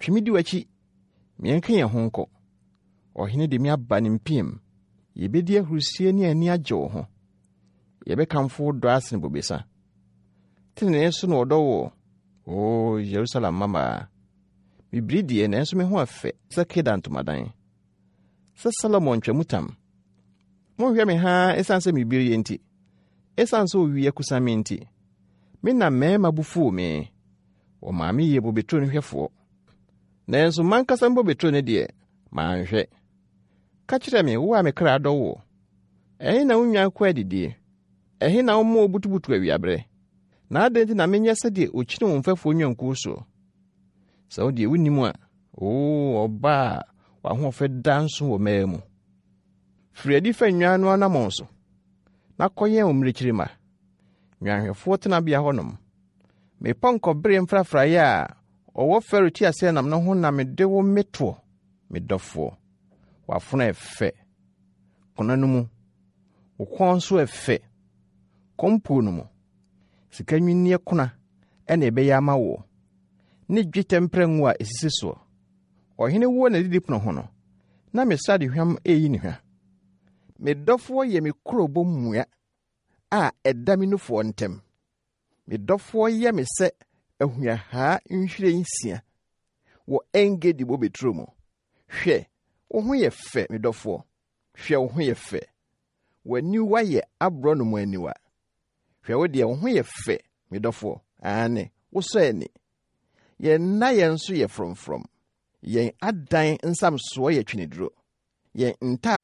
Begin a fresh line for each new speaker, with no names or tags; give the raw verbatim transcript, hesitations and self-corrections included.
Twe me di w'akyi, ma yɛnka yɛn ho nkɔ. Ɔhene de me aba ne mpiam. Yebedi ahurusi ne ani agye wo ho. Yɛbɛkamfo wo dɔ asene bobesa. Tenenee so na wɔdɔ wo, O Yerusalem mmammaa. Mibiri deɛ, nanso me ho afɛ sɛ Kedar ntomadan, sɛ Salomo ntwamutam. Monhwɛ me haa esiane sɛ mibiri nti, esiane sɛ owia kusa me nti. Me na mmarima bo fuw me. Wɔmaa me yɛɛ bobeturo no hwɛfoɔ. Nanso m'ankasa me bobeturo no deɛ, manhwɛ. Ka kyerɛ me, wo a me kra dɔ wo. Ɛhe na wo nnwan kɔ adidie? Ɛhe na woma wobutubutu awiaberɛ? Na adɛn nti na menyɛ sɛdeɛ okyini wo mfɛfoɔ nnwankuo soɔ? Sɛ wo deɛ wunnim a, oo ɔba a w'ahoɔfɛ da nso wɔ mmaa mu. Firi adi fa nnwan no anammɔn so, na kɔyɛn wo mmirekyiri mma. Nnwanhwɛfoɔ tenabea hɔnom. Me pɔnkɔbere mfrafraeɛ a ɔwɔ Farao teaseɛnam no ho na mede wo metoɔ, me dɔfoɔ. W'afono yɛ fɛ, kona no mu. Wo kɔn nso yɛ fɛ, kɔmpuo no mu. Sika nnwinneɛ kona ɛna ɛbɛyɛ ama woɔ, ne dwetɛ mprɛngo a esisi soɔ. Ɔhene wɔ n'adidipono ho no, na me sradehwam eyi ne hwa. Me dɔfoɔ yɛ me kurobo mua a ɛda me nufoɔ ntam. Me dɔfoɔ yɛ me sɛ ahuahaa nhwiren nsia wɔ Engedi bobeturo mu. Hwɛ, wo ho yɛ fɛ, me dɔfoɔ. Hwɛ, wo ho yɛ fɛ. W'aniwa yɛ aborɔnoma aniwa. Hwɛ wo deɛ, wo ho yɛ fɛ, me dɔfoɔ. Aane, wosɔ ani. Yɛn nnaeɛ nso yɛ frɔmfrɔm. Yɛn adan nsamsoɔ yɛ tweneduro. Yɛn nta